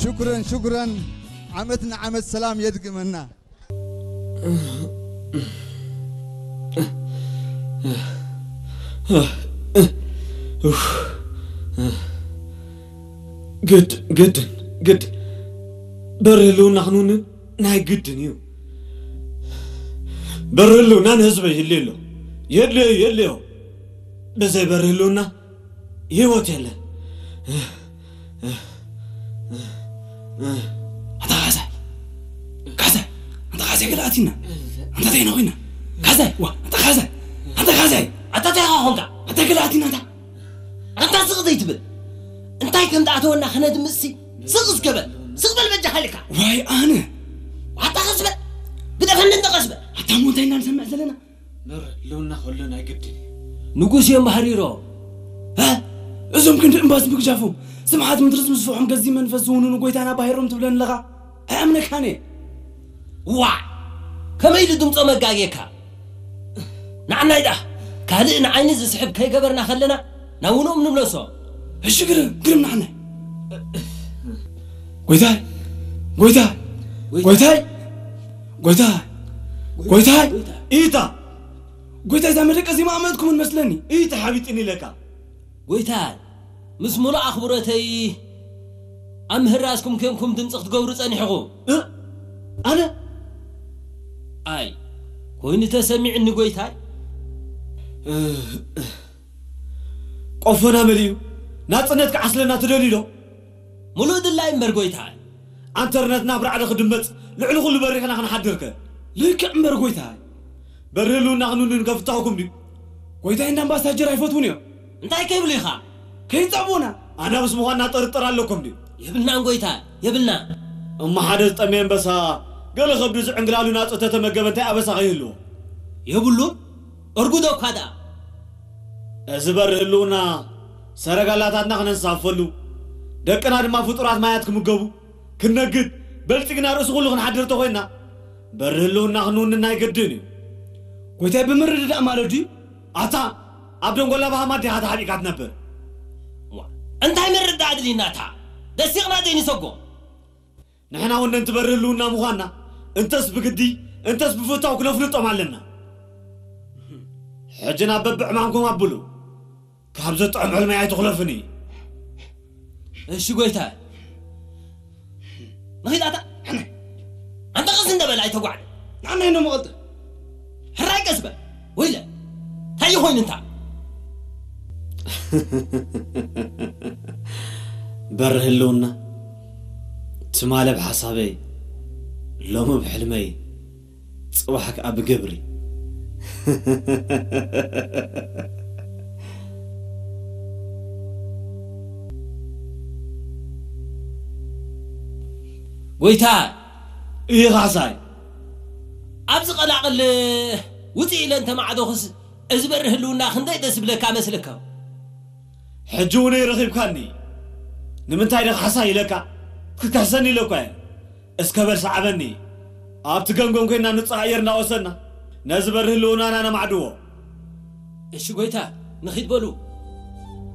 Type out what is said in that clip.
ሽኩረን ሽኩረን። ዓመት ንዓመት ሰላም የድግመና። ግድ ግድን ግድ በሪ ህልውና ክንውንን ናይ ግድን እዩ። በሪ ህልውና ንህዝበይ ይድልዮ ኣሎ። የድልዮ እዩ፣ የድልዮ። ብዘይ በሪ ህልውና ህይወት የለን። ኣታ ካዛይ፣ ካዛይ፣ ኣታ ካዛይ ገለ ኣቲና። ኣንታ እንታይ ኢና ኮይና? ካዛይ፣ ዋ፣ ኣታ ካዛይ፣ ኣታ ካዛይ፣ ኣታ እንታይ ኢኻ ኾንካ? ኣታ ገለ ኣቲና ኣታ። ኣንታ ስቕ ዘይትብል? እንታይ ከም ዝኣተወና ክነድምጽሲ ስቕ እስከ በል። ስቕ በል በጃኻ ኢልካ። ዋይ ኣነ። ኣታ ቀስ በል። ግደፈኒ እንተ ቀስ በል። ኣታ እሞ እንታይ ኢና ንሰምዕ ዘለና? መር ህልውና ከሎ ናይ ግድን እዩ። ንጉስ እዮም ባህሪሮ። እ? እዞም ክንዲ እምባስ ምግጃፎም ስምሓት ምድርስ ምስፍሖም ገዚ መንፈስ ዝውንኑ ጎይታና ባሂሮም ትብለኒ ኣለኻ? ኣይኣምነካን እየ። ዋ፣ ከመይ ኢሉ ድምፆ መጋግየካ? ንዓናይ ደኣ ካልእ ንዓይኒ ዝስሕብ ከይገበርና ከለና ናብ ውኖም ንምለሶ። እሺ ግርም፣ ግርም ንዓናይ። ጎይታይ፣ ጎይታይ፣ ጎይታይ፣ ጎይታይ፣ ጎይታይ፣ ኢታ። ጎይታይ እዛ መደቀሲ ማእመጥኩምን መስለኒ። ኢታ ሓቢጥኒ ኢለካ። ጎይታይ፣ ምስ ሙሉእ ኣኽብሮተይ ኣብ ምህራዝኩም ኬንኩም ድምፂ ክትገብሩ ጸኒሕኹም። እ? ኣነ? ኣይ፣ ኮይኑ ተሰሚዕኒ ጎይታይ። ቆፎና መሊኡ ናጽነት ክዓስለና ትደልዩ ዶ? ሙሉእ ድላይ እምበር ጎይታይ። ኣንተርነትና ብራዕዲ ክድመጽ ልዕሊ ኩሉ በሪኽና ክንሓድርከ። ልክዕ እምበር ጎይታይ። በሪ ህልውና ክንውንን ከፍታኹኩም ድዩ? ጎይታይ እንዳ ኣምባሳጀር ኣይፈትውን እዮም። እንታይ ከይብሉ ኢኻ? ከይጸብኡና። ኣናብስ ምዃንና ጥርጥር ኣለኩም ድዩ? የብልናን ጎይታ፣ የብልና። እሞ ሓደ ዝጠመየ ኣንበሳ ገለ ከብዱ ዝዕንግላሉ ናጹ ተተመገበ እንታይ ኣበሳ ከይህልዎ? የብሉን። እርጉዶ እኳ ደኣ። እዚ በሪ ህልውና ሰረጋላታትና ክነንሳፈሉ፣ ደቅና ድማ ፍጡራት ማያት ክምገቡ፣ ክነግድ፣ በልጽግና ርእሲ ኩሉ ክንሓድር ተኾይንና፣ በሪ ህልውና ክንውንን ናይ ግድን እዩ። ጎይታይ ብምርድዳእ ማለት ድዩ? ኣታ ኣብ ደንጎላ ባሃማ ዲኻ ተሓቢእካ ትነብር? ዋ፣ እንታይ ምርዳእ ኣድልይና እታ ደሲቕና ዘይንሰጎ? ንሕና እውን ነንቲ በሪ ህልውና ምዃንና እንተስ ብግዲ እንተስ ብፍታው ክነፍልጦም ኣለና። ሕጂ ናብ በብዕማምኩም ኣብሉ። ካብ ዘጥዕም ሕልመይ ኣይትኹለፍኒ። እሺ ጎይታ። ንኺድ ኣታ። ኣንተ ቐስ እንደበል ኣይተጓዕደ። ንዓናይ ኖ መቐልጥ። ሕራይ ቀስ በል። ወይለ። እንታይ ኮይኑ እንታ? በሪ ህልውና። ትማሊ ብሓሳበይ፣ ሎሚ ብሕልመይ፣ ጽባሕ ከኣ ብግብሪ። ጎይታ፣ ኢኻሳይ። ኣብዚ ቀላቕል ውፅእ ኢለ እንተማዕዶኽስ እዚ በሪ ህልውና ክንደይ ደስ ይብለካ መስለካ? ሕጂ እውን ረኺብካኒ። ንምንታይ ዶ ካሕሳይ ኢለካ? ክትክሕሰኒ ኢለ እኳ እየ። እስከ በል ሰዓበኒ። ኣብቲ ገምገም ኮይና ንጹህ ኣየር እናወሰድና ነዚ በሪ ህልውናና ነማዕድዎ። እሺ ጎይታ፣ ንኺድ በሉ።